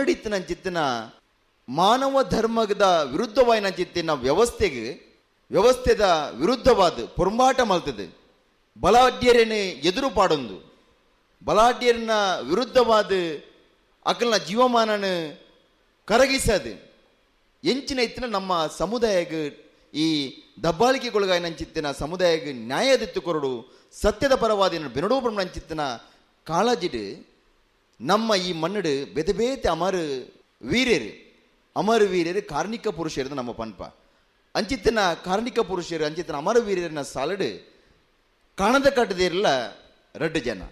ಮಣ್ಣಡಿತ್ತಿನಂಚಿತ್ತಿನ ಮಾನವ ಧರ್ಮದ ವಿರುದ್ಧವಾಯಿನಂಚಿತ್ತಿನ ವ್ಯವಸ್ಥೆದ ವಿರುದ್ಧವಾದ ಪೊರುಂಬಾಟ ಮಲ್ತದೆ ಬಲಾಢ್ಯರೇನು ಎದುರು ಪಾಡೊಂದು ಬಲಾಢ್ಯರನ್ನ ವಿರುದ್ಧವಾದ ಅಕಲ್ನ ಜೀವಮಾನನ ಕರಗಿಸದು ಎಂಚಿನ ಇತ್ತಿನ ನಮ್ಮ ಸಮುದಾಯಕ್ಕೆ ಈ ದಬ್ಬಾಳಿಕೆಗೊಳಗಾಯಿನಂಚಿತ್ತಿನ ಸಮುದಾಯಕ್ಕೆ ನ್ಯಾಯದಿತ್ತು ಕೊರಡು ಸತ್ಯದ ಪರವಾದಿನ ಬೆನಡೋಬ್ರಹ್ಮಂಚಿತ್ತಿನ ಕಾಳಜಿಡು ನಮ್ಮ ಈ ಮಣ್ಣಡು ಬೇತೆ ಬೇತೆ ಅಮರು ವೀರ್ಯರು ಅಮರ ವೀರ್ಯರು ಕಾರ್ಣಿಕ ಪುರುಷರು ನಮ್ಮ ಪನ್ಪ ಅಂಚಿತ್ತಿನ ಕಾರ್ಣಿಕ ಪುರುಷರು ಅಂಚಿತ್ತಿನ ಅಮರ ವೀರ್ಯರನ್ನ ಸಾಲಡು ಕಾಣದ ಕಟ್ಟದೇರಲ್ಲ ರಡ್ಡು ಜನ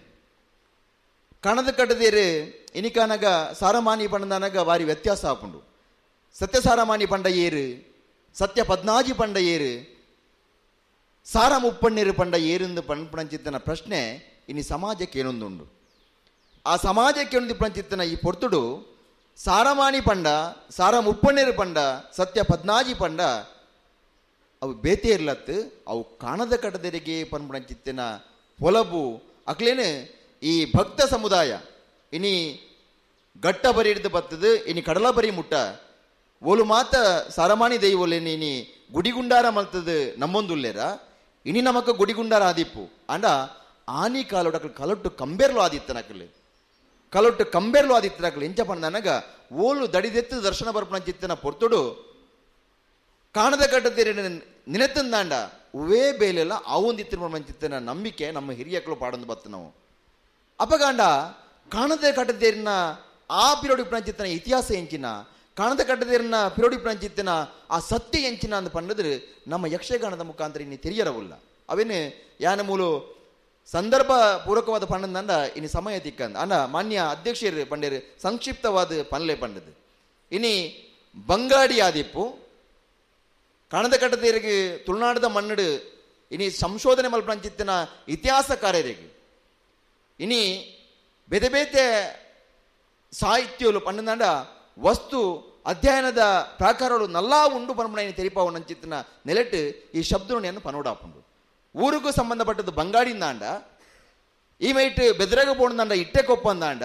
ಕಾಣದ ಕಟ್ಟದೇರು ಇನಿಕಾನಗ ಸಾರಮಾನಿ ಪಂಡನಗ ಬಾರಿ ವ್ಯತ್ಯಾಸ ಆಪುಂಡು. ಸತ್ಯ ಸಾರಮಾನಿ ಪಂಡ ಏರು, ಸತ್ಯ ಪದ್ನಾಜಿ ಪಂಡ ಏರು, ಸಾರ ಮುಪ್ಪಣ್ಣೀರು ಪಂಡ ಏರೆಂದು ಪಂಚಿತ್ತನ ಪ್ರಶ್ನೆ ಇನಿ ಸಮಾಜಕ್ಕೆ ಏನೊಂದುಂಡು. ಆ ಸಮಾಜಕ್ಕೆ ಏನೊಂದು ಪಂಚಿತ್ತನ ಈ ಪೊರ್ತುಡು ಸಾರಮಾನಿ ಪಂಡ, ಸಾರ ಮುಪ್ಪಣ್ಣೀರು ಪಂಡ, ಸತ್ಯ ಪದ್ನಾಜಿ ಪಂಡ ಅವು ಬೇತೆ ಇರ್ಲತ್ತು ಅವು ಕಾಣದ ಕಟ್ಟದೆರಿಗೆ ಪನ್ಪಣಂಚಿತ್ತಿನ ಪೊಲಬು ಅಕ್ಲೇನು ಈ ಭಕ್ತ ಸಮುದಾಯ ಇನಿ ಗಟ್ಟ ಬರಿ ಹಿಡಿದು ಬತ್ತದು ಇನಿ ಕಡಲ ಬರಿ ಮುಟ್ಟ ಓಲು ಮಾತ ಸಾರಮಾನಿ ದೈವೊಲೇನು ಇನಿ ಗುಡಿಗುಂಡಾರ ಮಲ್ತದು ನಮ್ಮೊಂದುಲ್ಲೇರ ಇನಿ ನಮಕ ಗುಡಿಗುಂಡಾರ ಆದಿಪ್ಪು ಅಂಡ ಆನಿ ಕಾಲೋಡು ಅಕಲ್ ಕಲೊಟ್ಟು ಕಂಬೇರ್ಲು ಆದಿತ್ತನಕಲು ಕಲೊಟ್ಟು ಕಂಬೇರ್ಲು ಆದಿತ್ತನಕಲು ಎಂಚ ಪಂಡನಗ ಓಲು ದಡಿದೆತ್ತು ದರ್ಶನ ಬರ್ಪಣಂಚಿತ್ತಿನ ಪೊರ್ತುಡು ಕಾಣದ ಕಟ್ಟದಿರ ನಿನೆತ್ತಂದಾಂಡ ಉವೇ ಬೇಲೆಲ್ಲ ಆವೊಂದಿತ್ತಿನ ಮಂಚಿತ್ತಿನ ನಂಬಿಕೆ ನಮ್ಮ ಹಿರಿಯಕಲು ಪಾಡೊಂದು ಬತ್ತು ನಾವು. ಅಪಗಾಂಡ ಕಾಣದ ಕಟ್ಟದೇರಿನ ಆ ಪಿರೋಡಿ ಪ್ರಂಚಿತ್ತನ ಇತಿಹಾಸ ಎಂಚಿನ ಕಾಣದ ಕಟ್ಟದೇರಿನ ಪಿರೋಡಿ ಪ್ರಂಚಿತ್ತಿನ ಆ ಸತ್ಯ ಎಂಚಿನ ಅಂತ ಪಂಡದ್ರೆ ನಮ್ಮ ಯಕ್ಷಗಾನದ ಮುಖಾಂತರ ಇನ್ನು ತೆರಿಯರವುಲ್ಲ. ಅವೇನು ಯಾನ ಮೂಲು ಸಂದರ್ಭ ಪೂರಕವಾದ ಪಂಡಂದ ಇನ್ನು ಸಮಯ ತಿಕ್ಕಂದ ಅಂಡ ಮಾನ್ಯ ಅಧ್ಯಕ್ಷರು ಪಂಡೇರು ಸಂಕ್ಷಿಪ್ತವಾದ ಪನ್ಲೆ ಪಂಡದು ಇನಿ ಬಂಗಾಡಿ ಆದಿಪ್ಪು ಕಾಣದ ಕಟ್ಟದೇರಿಗೆ ತುಳುನಾಡದ ಮಣ್ಣಡು ಇನಿ ಸಂಶೋಧನೆ ಮಲ್ಪಂಚಿತ್ತಿನ ಇತಿಹಾಸಕಾರರಿಗೆ ಇನಿ ಬೇತೆ ಬೇತೆ ಸಾಹಿತ್ಯಲು ಪಂಡಂದಾಂಡ ವಸ್ತು ಅಧ್ಯಯನದ ಪ್ರಾಕಾರಗಳು ನಲ್ಲಾ ಉಂಡು ಪನ್ಪುನ ತೆರಿಪಾವು ನಂಚಿತ್ತಿನ ನೆಲೆಟ್ಟು ಈ ಶಬ್ದವನ್ನು ಪನೋಡಾಪುಂಡು. ಊರಿಗೂ ಸಂಬಂಧಪಟ್ಟದ್ದು ಬಂಗಾಡಿಂದಾಂಡ ಈ ಮೈಟ್ ಬೆದರಗ ಪೋಣದಾಂಡ ಇಟ್ಟೆ ಕೊಪ್ಪಂದಾಂಡ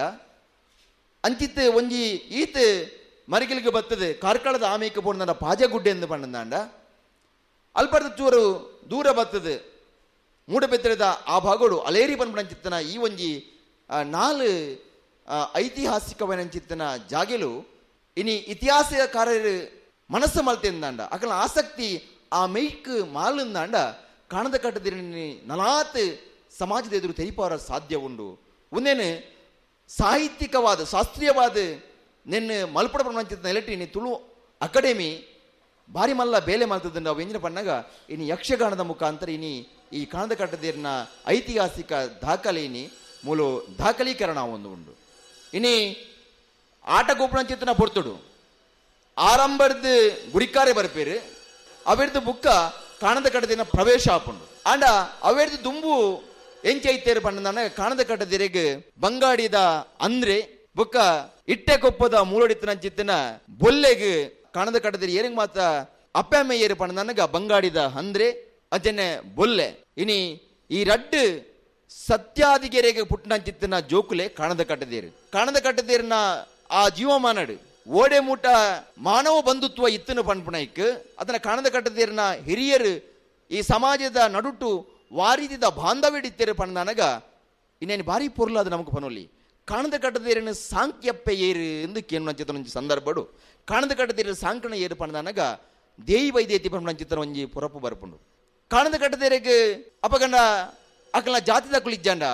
ಅಂಚಿತ್ತು ಒಂಜಿ ಈತ್ ಮರಿಗಿಲಿಗೆ ಬರ್ತದೆ ಕಾರ್ಕಳದ ಆಮೇಕೆ ಪೋಣದಾಂಡ ಪಾಜಗುಡ್ಡೆ ಎಂದು ಪಂಡಂದಾಂಡ ಅಲ್ಪರ್ದ ಚೂರು ದೂರ ಬರ್ತದೆ ಮೂಡಬೆತ್ತರದ ಆ ಭಾಗಡು ಅಲೇರಿ ಪನ್ಪುನಂಚಿತ್ತನ ಈ ಒಂಜಿ ನಾಲು ಐತಿಹಾಸಿಕವನಂಚಿತ್ತನ ಜಾಗೆಲು ಇನಿ ಇತಿಹಾಸಕಾರರು ಮನಸ್ಸು ಮಲ್ತೆಂದಾಂಡ ಅಕಲ ಆಸಕ್ತಿ ಆ ಮೈಕ್ ಮಾಲಂದಾಂಡ ಕಾಣದ ಕಟ್ಟದಿರನಿ ನಲಾತ್ ಸಮಾಜದ ಎದುರು ತೆರಿಪಾರ ಸಾಧ್ಯ ಉಂಡು. ಒಂದೇನು ಸಾಹಿತ್ಯಿಕವಾದ ಶಾಸ್ತ್ರೀಯವಾದ ನಿನ್ನ ಮಲ್ಪಡ ಪ್ರಪಂಚದ ನೆಲೆಟಿ ಇನಿ ತುಳು ಅಕಾಡೆಮಿ ಭಾರಿ ಮಲ್ಲ ಬೇಲೆ ಮಲ್ತದ ನಾವು ಎಂಜಿನ ಪಣ್ಣಾಗ ಇನಿ ಯಕ್ಷಗಾನದ ಮುಖಾಂತರ ಇನಿ ಈ ಕಾಣದ ಕಟ್ಟದೇರಿನ ಐತಿಹಾಸಿಕ ದಾಖಲೆ ಇನಿ ಮೂಲ ದಾಖಲೀಕರಣ ಒಂದು ಉಂಡು. ಇನಿ ಆಟ ಗೋಪುಣಂಚಿತ್ತನ ಪೊರ್ತುಡು ಆರಂಭದ ಗುರಿಕಾರೆ ಬರ್ಪೇರು ಅವೆರ್ದು ಬುಕ್ಕ ಕಾಣದ ಕಟ್ಟದಿನ ಪ್ರವೇಶ ಆಪುಂಡು. ಆಂಡ ಅವೆರ್ದು ದುಂಬು ಎಂಚೈತೇರು ಪಂಡನ ಕಾಣದ ಕಟ್ಟದಿರೆಗ್ ಬಂಗಾಡಿದ ಅಂದ್ರೆ ಬುಕ್ಕ ಇಟ್ಟೆ ಕೊಪ್ಪದ ಮೂಲಡಿತ್ತನಂಚಿತ್ತನ ಬೊಲ್ಲೆಗ್ ಕಾಣದ ಕಟ್ಟದಿರಿ ಏರಿಂಗ್ ಮಾತ್ರ ಅಪ್ಪೆಮ್ಮ ಏರು ಪಂಡನಗ ಬಂಗಾಡಿದ ಅಂದ್ರೆ ಅಜನೆ ಬೊಲ್ಲೆ ಇನಿ ಈ ರಡ್ಡು ಸತ್ಯಾದಿಗೆರೆಗೆ ಪುಟ್ಟನಂಚಿತ್ತನ ಜೋಕುಲೆ ಕಾಣದ ಕಟ್ಟದೇರು ಕಾಣದ ಕಟ್ಟದೇರಿನ ಆ ಜೀವಮಾನಡು ಓಡೆ ಮೂಟ ಮಾನವ ಬಂಧುತ್ವ ಇತ್ತನು ಪನ್ಪುಣೈಕ್ ಅದನ್ನ ಕಾಣದ ಕಟ್ಟದೇರಿನ ಹಿರಿಯರು ಈ ಸಮಾಜದ ನಡುಟು ವಾರಿದಿದ ಬಾಂಧವ್ಯ ಪಂಡನಗ ಇನ್ನೇನು ಭಾರಿ ಪೊರ್ಲು ಅದು ನಮಗೆ ಪನೊಲಿ ಕಾಣದ ಕಟ್ಟದೇರಿನ ಸಾಂಕ್ಯಪ್ಪೆ ಏರು ಎಂದು ಕೇನು ಸಂದರ್ಭಡು ಕಾಣದ ಕಟ್ಟದೇರಿನ ಸಾಂಕಣ ಏರು ಪಂಡನಗ ದೇಯಿ ವೈದ್ಯತಿ ಪಂಚಿತನ ಒಂಜಿ ಪೊರಪು ಬರ್ಪುಂಡು. ಕಾಣದ ಕಟ್ಟದೇರಿಗೆ ಅಪಗಂಡ ಅಕಲ್ನ ಜಾತಿದ ಕುಳಿಜ್ಜಾಂಡ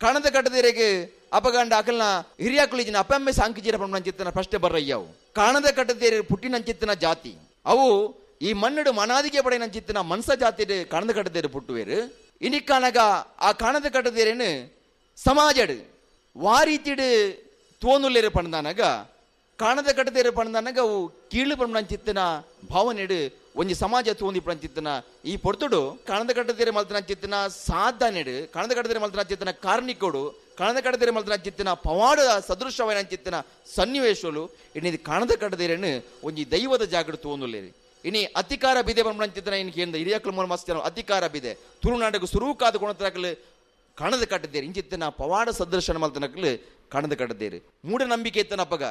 ಕಾಣದ ಕಟ್ಟದೇರಿಗೆ ಅಪಗಂಡ ಅಕಲ್ನ ಹಿರಿಯ ಕುಳಿಜಿನ ಅಪ್ಪಮ್ಮೆ ಸಾಂಕಿಜೀರ ಪಂಚಿತನ ಪ್ರಶ್ನೆ ಬರ್ರಯ್ಯವು. ಕಾಣದ ಕಟ್ಟದೇರಿ ಪುಟ್ಟಿನಂಚಿತ್ತನ ಜಾತಿ ಅವು ಈ ಮಣ್ಣಡು ಮನಾದಿಗೆ ಪಡೆಯನಂಚಿತ್ತನ ಮನ್ಸ ಜಾತಿ ಕಾಣದ ಕಟ್ಟದೇರು ಪುಟ್ಟುವೇರು ಇನಿಕ್ಕಾನಗ ಆ ಕಾಣದ ಕಟ್ಟದೇರೇನು ಸಮಾಜಡು ವಾರೀತಿಡು ತೋನುಲ್ಲೇರು ಪಂಡನಗ ಕಾಣದ ಕಟ್ಟದೇರು ಪಂಡನಗ ಅವು ಕೀಳು ಪಂಚಿತ್ತನ ಭಾವನೆಡು ಒಂಜಿ ಸಮಾಜ ತೋಂದಿ ಪಂಚಿತ್ತನ ಈ ಪೊರ್ತುಡು ಕಾಣದ ಕಟ್ಟದೇರು ಮಲ್ತನಂಚಿತ್ತನ ಸಾಧನೆಡು ಕಾಣದ ಕಟ್ಟದೇರು ಮಲ್ತನಂಚಿತ್ತನ ಕಾರ್ಣಿಕೋಡು ಕಾಣದ ಕಟ್ಟದೇರು ಮಲ್ತನಂಚಿತ್ತನ ಪವಾಡ ಸದೃಶವನಂಚಿತ್ತನ ಸನ್ನಿವೇಶಲು ಇನ್ನು ಕಾಣದ ಕಟ್ಟದೇರನ್ನು ಒಂಜಿ ದೈವದ ಜಾಗಡು ತೋನುಲ್ಲೇರಿ. ಇನಿ ಅತಿಕಾರ ಬಿದೆ ಪಂಚಿತ್ತನ ಇನ್ ಕೇಂದ್ರ ಹಿರಿಯಕ್ಲು ಮೂಲ ಮಸ್ತ ಅತಿಕಾರ ಬಿದೆ ತುಳುನಾಟಕ ಸುರೂಕಾದ ಕೊಣತನಕಲು ಕಾಣದ ಕಟ್ಟದೇರು ಇಂಚಿತ್ತನ ಪವಾಡ ಸದೃಶನ ಮಲ್ತನಕಲು ಕಾಣದ ಕಟ್ಟದೇರು ಮೂಢನಂಬಿಕೆ ಇತ್ತನ ಅಪ್ಪಗ